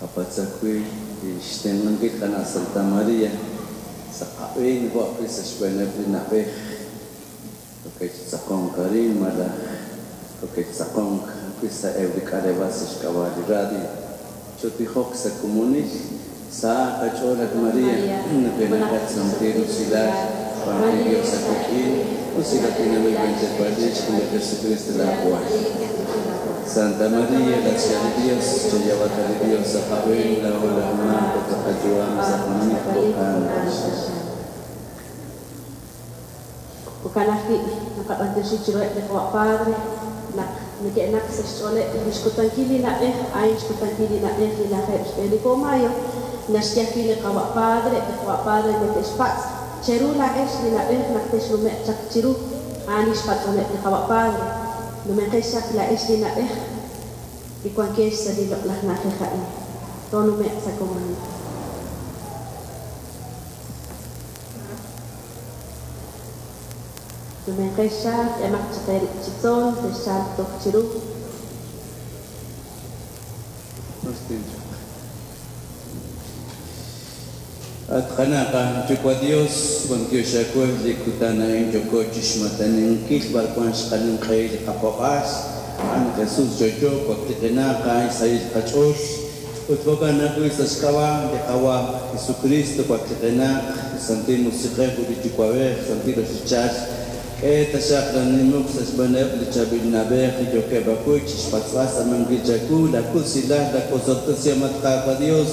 Qapatz' ajwi' li xtenq'ankil qana' Santa Maria sa' qab'een jo' ajwi' sa' xb'eeneb' li na'b'ej yookeb' chi tz'aqonk arin malaj yookeb' chi tz'aqonk ajwi' sa'eb' li k'aleb'aal sa' xk'ab'a' li radio. Chootijoq sa' komonil. Sahaq qach'ool, at Maria, nujenaqat santil usilal, wank li Dios aawik'in, usilatinanb'il b'enchepalix jun li Jesucristo laawal. Santa Maria, la li Dios, chayab'ata li Dios sa' qab'een laa'o laj maak ut sa' qayu'am sa' kamik jo'kan taxaq. Jo'kan ajwi' naqab'antioxi chiruheb' li qawa' padre naq neke'naq sa' xch'ooleb' li xkutankil li na'b'ej, a'in xkutankil li na'b'ej li lajeeb' xb'e li po mayo, naxye ajwi' li qawa' padre, eb' li qawa' padre neke'xpatz' cheru laa'ex li na'b'ej naq texnume'q chaq chiru, a'an li xpatz'omeb' li qawa' padre, numenqex chaq laa'ex li na'b'ej li wankex sa' li loq'laj na'ajej a'in, toonume'q sa' komonil. Numenqex chaq, k'emaq chaq eerib' chi tzol, texchalq toj chiru. At qana' qaYuwa' Dios, b'antiox aawe li kutan a'in yooko chixmataninkil b'arwan xqaninq'ehi li qapaab'aal, a'an Jesus yo'yo waklijenaq a'an xsahil qach'ool. Ut jo'kan ajwi' sa' xk'ab'a' li Qaawa' Jesukristo waklijenaq, li Santil Musiq'ej ut li Yuwa'b'ej santil ochochal, k'e taxaq laanimuk sa' xb'eeneb' li chaab'il na'b'ej li yookeb' ajwi' chixpatz'b'al xtz'aamankil chawu laakusilal, laawosob'tesihom, at Qaawa' Dios,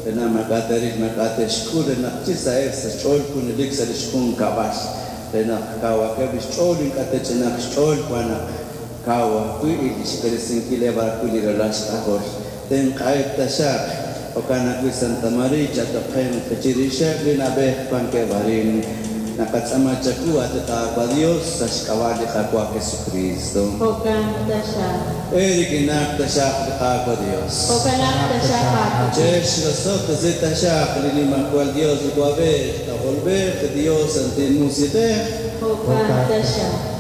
re naq maak'a' te'ril maak'a' te'xk'ul, re naq chi saheb' sa' xch'ool junelik sa' lix junkab'al, re naq kawaqeb' lix ch'ool ink'a' te'ch'inaq xch'ool, wan naq kaw ajwi' li xb'eresinkileb' ajwi' li ralal xk'ajol. Tenq'aheb' taxaq. Jo'kan ajwi' Santa Maria chatoqenq chirixeb' li na'b'ej wankeb' arin. Naqatz'aama chawu, at Qaawa' Dios, sa' xk'ab'a' li Qaawa' Jesucristo. Jo'kan taxaq. Eerik'inaq taxaq li Qaawa' Dios. Jo'kanaq taxaq aawik'in. Chexrosob'tesi taxaq li Nimajwal Dios Yuwa'b'ej, K'ajolb'ej, Dios Santil Musiq'ej. Jo'kan taxaq.